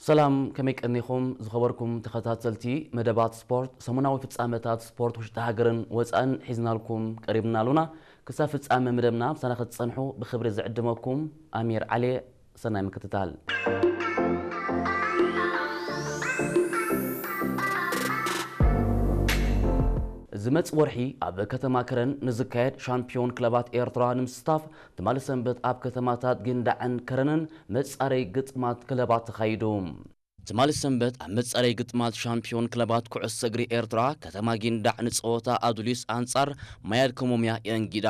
ሰላም፣ ከመይ ቀኒኹም ዝኸበርኩም ተኸታተልቲ መደባት ስፖርት? ሰሙናዊ ፍጻመታት ስፖርት ውሽጢ ሃገርን ወጻእን ሒዝናልኩም ቀሪብና ኣሉና። ክሳብ ፍጻመ መደብና ምሳና ክትጸንሑ ብኽብሪ ዝዕድመኩም ኣሚር ዓሊ። ሰናይ ምክትታል። ዝመጽእ ወርሒ ኣብ ከተማ ከረን ንዝካየድ ሻምፒዮን ክለባት ኤርትራ ንምስታፍ ትማሊ ሰንበት ኣብ ከተማታት ጊንዳዕን ከረንን መጻረይ ግጥማት ክለባት ተኻይዱ። ትማሊ ሰንበት ኣብ መጻረይ ግጥማት ሻምፒዮን ክለባት ኩዕሶ እግሪ ኤርትራ ከተማ ጊንዳዕ ንጸወታ ኣዱሊስ ኣንጻር ማያድ ኮሞምያ የእንጊዳ።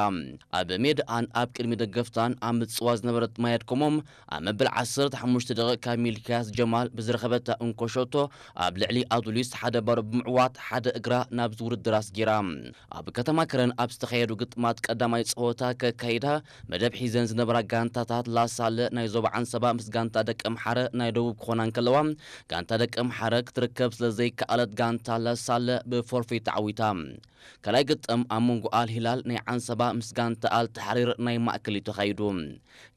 ኣብ ሜድኣን ኣብ ቅድሚ ደገፍታን ኣብ ምጽዋ ዝነበረት ማያድ ኮሞም ኣብ መበል ዓሰርተ ሓሙሽተ ደቂቕ ካብ ሚልክያስ ጀማል ብዝረኸበታ እንኮ ሸቶ ኣብ ልዕሊ ኣዱሊስ ሓደ ባዶ ብምዕዋት ሓደ እግራ ናብዚ ውድድር ኣስጊራ። ኣብ ከተማ ከረን ኣብ ዝተኻየዱ ግጥማት ቀዳማይ ጸወታ ከካይዳ መደብ ሒዘን ዝነበራ ጋንታታት ላሳለ ናይ ዞባ ዓንሰባ ምስ ጋንታ ደቀምሓረ ናይ ደቡብ ክኾና እንከለዋ፣ ጋንታ ደቀምሓረ ክትርከብ ስለ ዘይከኣለት ጋንታ ላሳለ ብፎርፌ ተዓዊታ። ካልኣይ ግጥም ኣብ መንጎ ኣል ሂላል ናይ ዓንሰባ ምስ ጋንታ ኣል ተሕሪር ናይ ማእከል እዩ ተኻይዱ።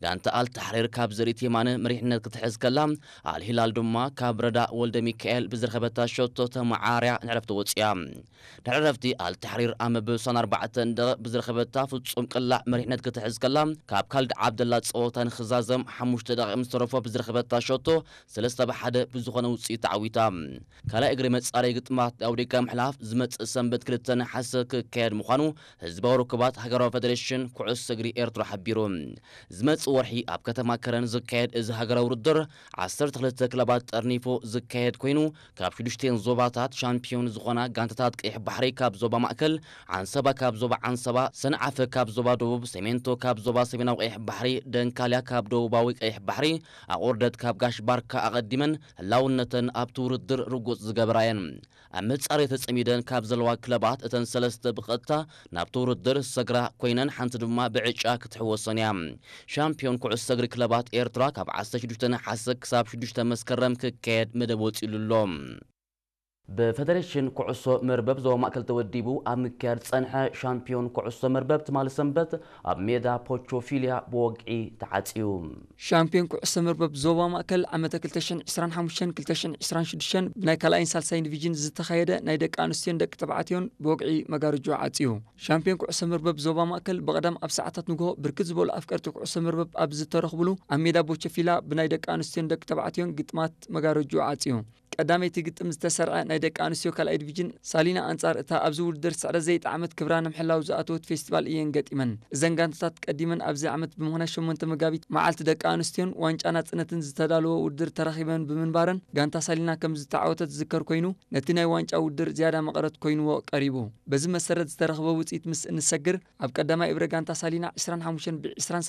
ጋንታ ኣል ተሕሪር ካብ ዘርኢት የማነ መሪሕነት ክትሕዝ ከላ፣ ኣል ሂላል ድማ ካብ ረዳ ወልደ ሚካኤል ብዝረኸበታ ሸቶ ተመዓርያ ንዕረፍቲ ወጽያ። ድሕሪ ዕረፍቲ ኣል ተሕሪር ኣብ መበል ሰላሳን ኣርባዕተን ደቂቕ ብዝረኸበታ ፍጹም ቅላዕ መሪሕነት ክትሕዝ ከላ፣ ካብ ካልድ ዓብደላ ጸወታ ንኽዛዘም ሓሙሽተ ደቂቕ ምስ ተረፎ ብዝረኸበታ ሸቶ ሰለስተ ብሓደ ብዝኾነ ውጽኢት ተዓዊታ። ካልኣይ እግሪ መጻረይ ግጥማት ናብ ደቂቃ ምሕላፍ ዝመጽእ ሰንበት ክልተ ነሓሰ ክካየድ ምዃኑ ህዝባዊ ርክባት ሃገራዊ ፈደሬሽን ኩዕሶ እግሪ ኤርትራ ሓቢሩ። ዝመጽእ ወርሒ ኣብ ከተማ ከረን ዝካየድ እዚ ሃገራዊ ውድድር ዓሰርተ ክልተ ክለባት ጠርኒፉ ዝካየድ ኮይኑ፣ ካብ ሽዱሽተን ዞባታት ሻምፒዮን ዝኾና ጋንታታት ቀይሕ ባሕሪ ካብ ዞባ ማእከል፣ ዓንሰባ ካብ ዞባ ዓንሰባ፣ ሰንዓፈ ካብ ዞባ ደቡብ፣ ሰሜንቶ ካብ ዞባ ሰሜናዊ ቀይሕ ባሕሪ፣ ደንካልያ ካብ ደቡባዊ ቀይሕ ባሕሪ፣ ኣቑርደት ካብ ጋሽ ባርካ ኣቐዲመን ህላውነተን ኣብቲ ውድድር ርጉጽ ዝገበራ እየን። ኣብ መጻረይ ተጸሚደን ካብ ዘለዋ ክለባት እተን ሰለስተ ብቐጥታ ናብቲ ውድድር ዝሰግራ ኮይነን፣ ሓንቲ ድማ ብዕጫ ክትሕወሰን እያ። ሻምፒዮን ኩዕሶ እግሪ ክለባት ኤርትራ ካብ ዓሰርተ ሽዱሽተ ነሓሰ ክሳብ ሽዱሽተ መስከረም ክካየድ መደብ ወጺኡሉ ኣሎ። ብፈደሬሽን ኩዕሶ መርበብ ዞባ ማእከል ተወዲቡ ኣብ ምክያድ ዝጸንሐ ሻምፒዮን ኩዕሶ መርበብ ትማሊ ሰንበት ኣብ ሜዳ ፖቾፊልያ ብወግዒ ተዓጽዩ። ሻምፒዮን ኩዕሶ መርበብ ዞባ ማእከል ዓመተ ክልተ ሽሕን ዕስራን ሓሙሽተን ክልተ ሽሕን ዕስራን ሽዱሽተን ብናይ ካልኣይን ሳልሳይን ዲቪዥን ዝተኻየደ ናይ ደቂ ኣንስትዮን ደቂ ተባዕትዮን ብወግዒ መጋረጆ ዓጽዩ። ሻምፒዮን ኩዕሶ መርበብ ዞባ ማእከል ብቐዳም ኣብ ሰዓታት ንግሆ ብርክት ዝበሉ ኣፍቀርቲ ኩዕሶ መርበብ ኣብ ዝተረኽብሉ ኣብ ሜዳ ቦቸፊላ ብናይ ደቂ ኣንስትዮን ደቂ ተባዕትዮን ግጥማት መጋረጆ ዓጽዩ። ቀዳመይቲ ግጥም ዝተሰርዐ ናይ ደቂ ኣንስትዮ ካልኣይ ዲቪዥን ሳሊና ኣንጻር እታ ኣብዚ ውድድር ስዕረት ዘይጠዓመት ክብራ ንምሕላው ዝኣተወት ፌስቲቫል እየን ገጢመን። እዘን ጋንታታት ቀዲመን ኣብዚ ዓመት ብምኽንያት ሸሞንተ መጋቢት መዓልቲ ደቂ ኣንስትዮን ዋንጫ ናጽነትን ዝተዳለወ ውድድር ተራኺበን ብምንባረን ጋንታ ሳሊና ከም ዝተዓወተት ዝዝከር ኮይኑ፣ ነቲ ናይ ዋንጫ ውድድር ዝያዳ መቐረት ኮይንዎ ቀሪቡ። በዚ መሰረት ዝተረኽበ ውጽኢት ምስ እንሰግር፣ ኣብ ቀዳማይ እብረ ጋንታ ሳሊና ዕስራን ሓሙሽተን ብ ዕስራን